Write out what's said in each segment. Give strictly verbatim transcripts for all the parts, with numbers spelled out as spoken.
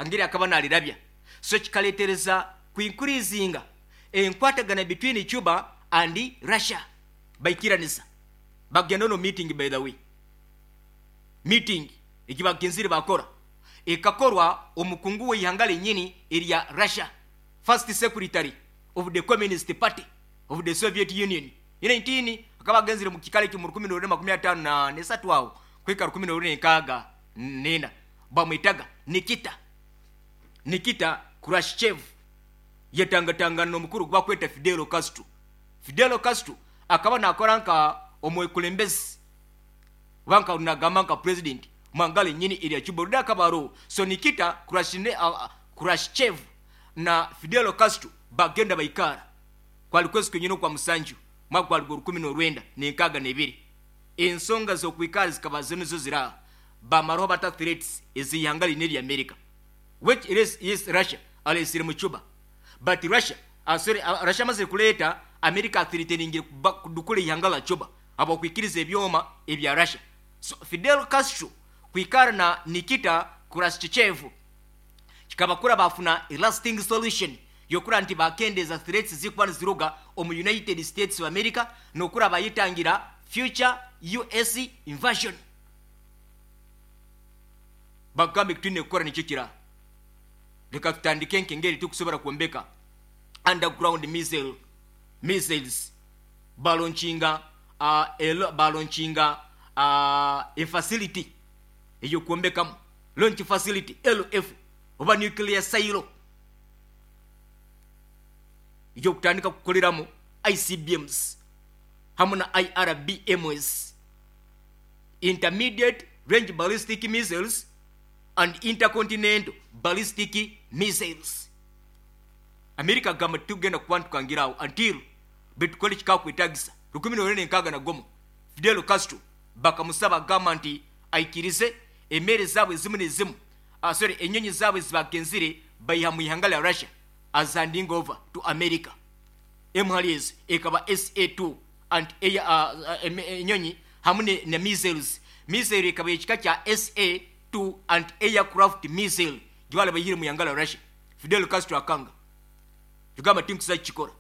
Hangeri akaba nalirabya. So kikaletereza kuinkurizinga enkwatagana between Cuba and Russia. Baikiranisa bagenda no meeting. By the way, meeting ekibagenzire bakora ekakorwa omukungu w'eihanga lenyini erya Russia, first secretary of the Communist Party of the Soviet Union nineteen akaba agenzire mu kikale ekyo mu rukumi n'orwenda makumi ataano na nesatu awo kwika rukumi n'orwenda enkaaga nena, bamwitaga Nikita Nikita Khrushchev. Yatangatangana n'omukuru gwakweta Fidel Castro. Fidel Castro akaba nakora nka omwekulembezi banka nagamba nka president mwangale nyini erya Cuba ruda akabaro. So Nikita Khrushchev, uh, Khrushchev na Fidel Castro bagenda baikara kwali kwezi kwenyini kwa musanju mwaka gwali rukumi n'orwenda n'enkaaga n'ebiri. Ensonga z'okwikara zikaba zino zo zira bamaraho bata threats ez'ihanga lini erya America, which it is, yes, Russia alesire mu Cuba. But Russia, uh, sorry, uh, Russia amaze kuleeta America threatening kudukula ihanga la Cuba abakwikiriza ebyoma ebya Russia. So Fidel Castro kwikara na Nikita Khrushchev kikabakura bafuna a lasting solution yokura nti bakendeza threats zikuba niziruga omu United States of America nokura bayitangira future U S invasion. Bagambe kitwine kukora nikyo kira leka tutandike nkengeri tukusobora kwombeka underground missile missiles balonchinga uh, elo, balonchinga uh, a facility eyo kwombekamu launch facility L F oba nuclear silo iyo kutandika kukoleramu I C B Ms hamwe na I R B M S, intermediate range ballistic missiles and intercontinental ballistic missiles. America gamba tugenda kubantukangirawo until betukole kikakwetagisa rukumi n'orwenda enkaaga na gumu. Fidel Castro bakamusaba gamba nti aikirize emere zaabwe ezimu n'ezimu, uh, sorry, enyonyi zaabwe zibagenzire bayiha mu ihanga lya Russia as handing over to America. Emhaliz ekaba S A two and uh, enyonyi hamwe ne, ne missiles. Missile ekaba ekika kya S A two and aircraft missile gibala bayire mu ihanga lya Russia. Fidel Castro akanga tugamba tinkusa kikora.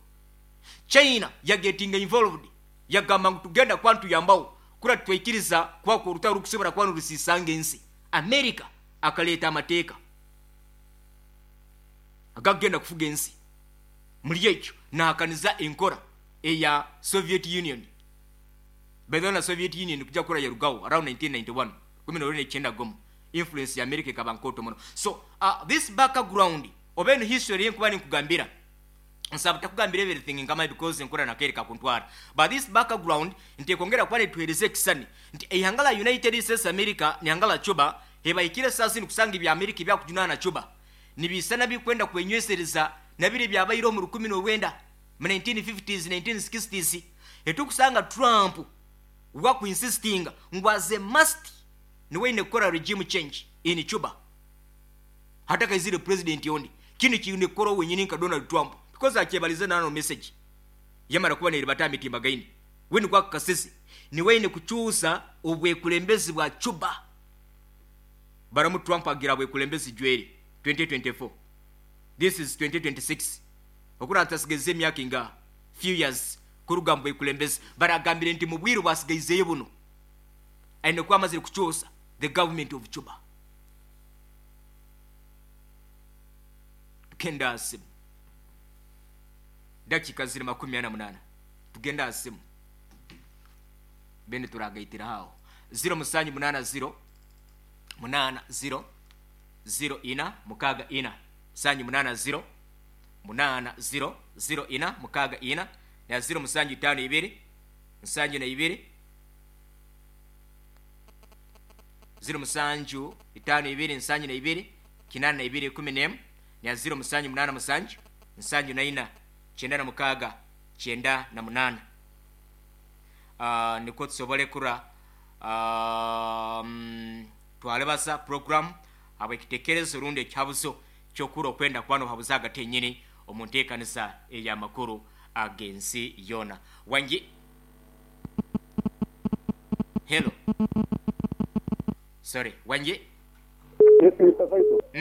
China ya getting involved yagamba ngu tugenda kwantu yambawo kura twikiriza kwa ku rutaro rukusobora kwanu rusisanga ensi. America akaleta amateeka agagenda kufuga ensi. Muri ekyo nahakaniza enkora eya Soviet Union. By the Soviet Union kujja kura yarugawo around nineteen ninety-one kumi n'orwenda icyenda gomo influence ya America ikaba nkoto muno. So uh, this background oba eno history yenkuba ninkugambira nsaba takugambira everything ngama because nkora nakereka kuntwara, but this background nti kongera kwale tuhereze kisani nti ihanga la United States America ni ihanga la Cuba hebaikire sasa ni kusanga ibya America ibya kujunana na Cuba nibisana bikwenda kwenywesereza nabire byabayiro mu rukumi n'orwenda mu nineteen fifties nineteen sixties. Etukusanga Trump wa ku insisting ngwaze must ni wene kora regime change in Cuba hata kaizire president yondi kini kine kora wenyini nka Donald Trump because akebalize nano message yamara kuba neri mitimba gaini weni kwa kasisi ni wene kuchusa obwekulembezi bwa Cuba. Baramu Trump agira bwekulembezi jweri twenty twenty-four, this is twenty twenty-six okura atasigeze emyaka inga few years kuruga bwekulembezi baragambire nti mubwiru bwasigaizeyo buno aine kwa amazire kuchusa the government of Cuba. Tukenda asimu dakika ziri makumi ana munana tugenda asimu bene turagaitira hao zero musanju munana zero munana zero zero ina mukaga ina sanju munana zero munana zero zero ina mukaga ina na zero musanju tano ibiri nsanju na ibiri zero musanju itano ibiri nsanju na ibiri kinana na ibiri kumi n'emu na zero musanju munana musanju nsanju na ina chenda na mukaga chenda na munana. Uh, niko tusobole kura um, twalebasa program abwekitekerezo rundi ekyabuzo kyokura okwenda kwano habuzaga tenyini omunteekanisa ey'amakuru agensi yona. Wangi hello sorry wangi. Yes, Mister Faisal.